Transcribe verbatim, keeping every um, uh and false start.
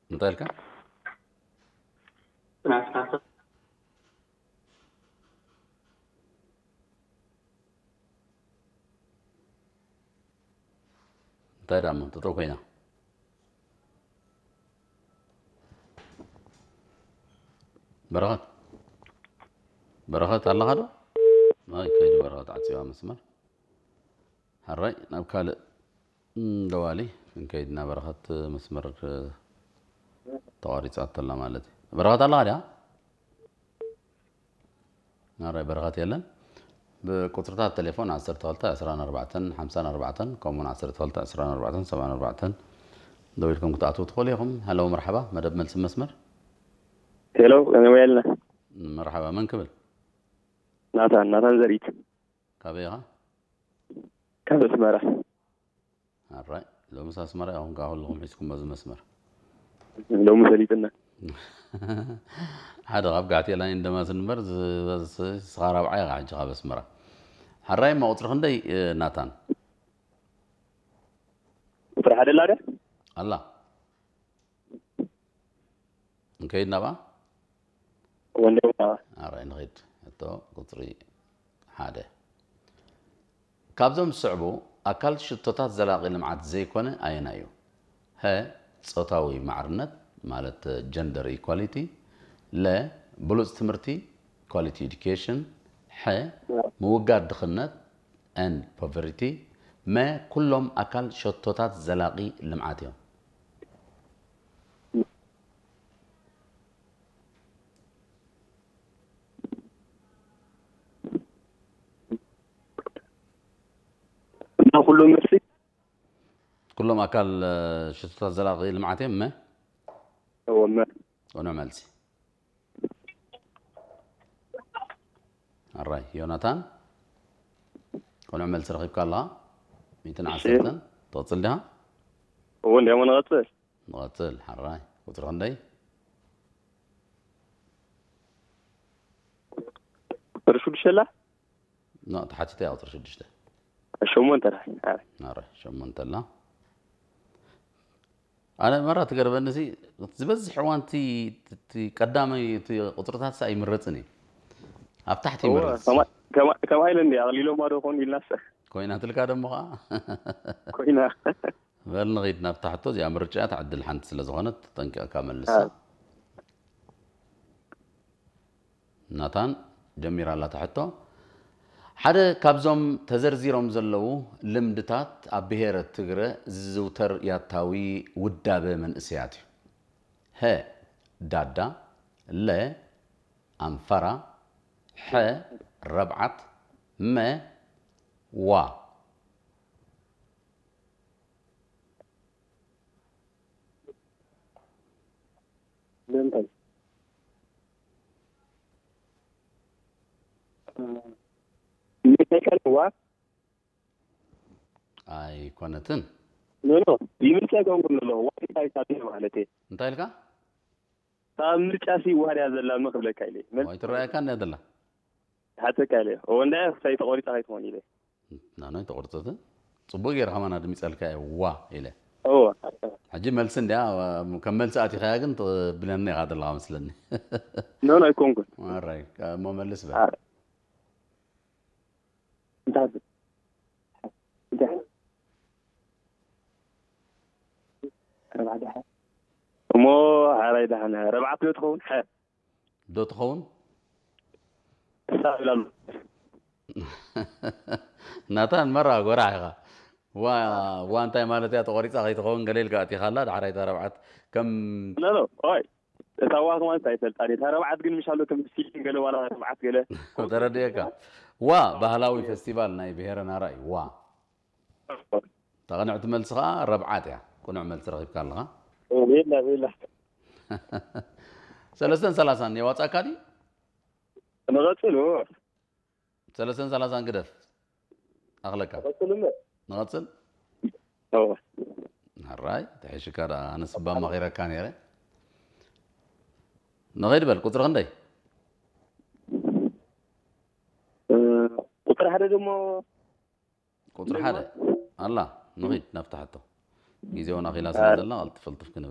እንታይ ኢልካ? እንታይ ዳሞ ጠጠው ኮይና? በረኸት፣ በረኸት ኣለኻ ዶ? ኣይ፣ ከይዱ በረኸት፣ ዓጽዋ መስመር። ሕራይ ናብ ካልእ ደዋሊ ክንከይድ ኢና። በረኸት መስመር ተቋሪጻ ተላ ማለት እዩ። በረኸት ኣለኻ ድያ? ናራይ በረኸት የለን። ብቁጽርታት ቴሌፎን ዓሰርተ ክልተ ዕስራን ኣርባዕተን ሓምሳን ኣርባዕተን፣ ከምኡውን ዓሰርተ ክልተ ዕስራን ኣርባዕተን ሰብዓን ኣርባዕተን ደዊልኩም ክትኣትዉ ትኽእሉ ኢኹም። ሀሎ መርሐባ፣ መደብ መልሲ መስመር። ሄሎ፣ ከመይ ወየልና? መርሐባ፣ መን ክብል? ናታን፣ ናታን ዘርኢት። ካበይ ኢኻ? ካብ ኣስመራ። ኣራይ፣ ሎምስ ኣስመራ ኢኹም ከኣ ኩልኹም ሒዝኩም በዚ መስመር። ሎሚ ሰሊጥና። ሓደ ካብ ጋሕቴ ላይን ደማስ እንበር፣ ዝ-፣ ዝ-፣ ስኻ ራብዓይ ኢኻ ሕጂ ካብ ኣስመራ። ሕራይ፣ እማ ቁጽሪ ክንደይ፣ እ፣ ናታን? ቁጽሪ ሓደ ኣላ ድያ? ኣላ። እንከይድ ናብኣ? ወንደው ናብኣ። ኣራይ ንኺድ። ሕቶ ቁጽሪ ሓደ። ካብዞም ዝስዕቡ ኣካል ሽቶታት ዘላቒ ልምዓት ዘይኮነ ኣየናይ እዩ? ሀ፣ ጾታዊ ማዕርነት ማለት ጀንደር ኢኳሊቲ፣ ለ፣ ብሉጽ ትምህርቲ ኳሊቲ ኤዱኬሽን፣ ሐ፣ ምውጋድ ድኽነት ኤንድ ፖቨርቲ፣ መ፣ ኩሎም ኣካል ሸቶታት ዘላቒ ልምዓት እዮም። እና ኩሎም መልሲ? ኩሎም ኣካል፣ እ፣ ሽቶታት ዘላቒ ልምዓት እዮም። መ? እወ፣ መ። ቅኑዕ መልሲ። ኣራይ፣ ዮናታን፣ ቅኑዕ መልሲ ረኺብካ ኣለኻ። ሚእትን ዓሰርተን። ትቕጽል ዲኻ? እወ፣ እንዲያሞ ንቐጽል። ንቐጽል፣ ሓራይ። ቁጽሪ ክንደይ? ቁጽሪ ሽዱሽተ ኣላ? ኖ፣ ተሓቲተ እያ ቁጽሪ ሽዱሽተ። ሸሞንተ ኣላ። ኣረ። ኣረ፣ ሸሞንተ ኣላ። ኣነ መራ ትገርበኒሲ፣ ዝበዝሕ እዋን እቲ፣ እቲ ቀዳማይ እቲ ቁጽርታት ሰ ኣይምረጽን እዩ። ኣብ ታሕቲ እወ፣ ይምረጽ። ከማ-፣ ከማ-፣ ከማይ ኢለ እንዲ ኣቕሊሎማ ዶ ኾን ኢልናሰ። ኮይናትልካ ደሞ ኸዓ። ኮይና። በል ንኺድ ናብታ ሕቶ እዚኣ። ምርጫ እታ ዕድል ሓንቲ ስለ ዝኾነት ተጠንቂቕካ መልሳ። ኣይ። ናታን ጀሚራ ኣላ እታ ሕቶ። ሓደ ካብዞም ተዘርዚሮም ዘለዉ ልምድታት ኣብ ብሄረ ትግረ ዝዝውተር ያታዊ ውዳበ መንእሰያት እዩ። ሀ፣ ዳዳ፣ ለ፣ ኣንፈራ፣ ሐ፣ ረብዓት፣ መ፣ ዋ። ለምታይ? እ፣ ምርጫ ይቀርብ ዋ? ኣይኮነትን። ኖ፣ ኖ፣ ይምርጫ ይኮንኩ ኣለኹ። ዋ እንታይ ሳቢ ማለት እየ? እንታይ ኢልካ? ካብ ምርጫ ሲ ዋርያ ዘላ መ ክብለካ ኢለ። መን ወይ ትረኣየካ እንድያ ዘላ? ሓተካ ኢለ። ኦ፣ እንዳ ሳይ ተቆሪጻ ከይትኾን ኢለ። ናኖይ ተቆርጸትን? ጽቡቅ ገይርካ ማን ኣድሚጸልካ እየ፣ ዋ ኢለ። እወ። ሕጂ መልሲ እንድያ፣ ከም መልሲ ኣቲኻያ ግን ትብለኒ ኢኻ ዘለኻ መስለኒ። ኖ፣ ኖ፣ ኣይኮንኩን። ኣራይ፣ እሞ መልስ በል። ኣረ። እንታይ? እንታይ? ኣርባዓ ደሓን። እሞ ሓራይ ደሓን፣ ረብዓት ዶ ትኸውን? ሓ- ዶ ትኸውን? ክሳብ ኢላ ኣሎ። ናታን መራ ጎራሕ ኢኻ። ዋ፣ ዋ እንታይ ማለት እያ? ተቆሪጻ ከይትኸውን ገለ ኢልካ ኣቲኻላ፣ ዳሕራይ እታ ረብዓት ከም ኖ፣ ኖ፣ ኦይ። እታ ዋ ከማን እንታይ ይፈልጣ? እታ ረብዓት ግን ምሽ ኣሎ ከም ሲሊን ገለ ዋላ ረብዓት ገለ። ተረድኤካ። ዋ ባህላዊ ፌስቲቫል ናይ ብሄረ ናራ እዩ። ዋ። እታ ቅንዕቲ መልሲ ኸኣ ረብዓት እያ። ቅኑዕ መልሲ ረኺብካ ኣለኻ። ቤላ፣ ቤላ። ሰለስተን ሰላሳን የዋጻእካ ድዩ? ንቐጽል፣ እወ። ሰለስተን ሰላሳን ግደፍ። ኣኽለካ። ንቐጽል እምበር። ንቐጽል? እወ። ሕራይ፣ ተሐሽካ ደኣ፣ ኣነስ እባ መኺረካ ነይረ። ንኸይድ በል፣ ቁጽሪ ክንደይ? እ፣ ቁጽሪ ሓደ ደሞ ቁጽሪ ሓደ። ኣላ፣ ንኺድ ናብታ ሕቶ። ግዜ እውን ኣኺላ ስለ ኣረ። ዘላ፣ ቀልጥፍ ቀልጥፍ ክንብል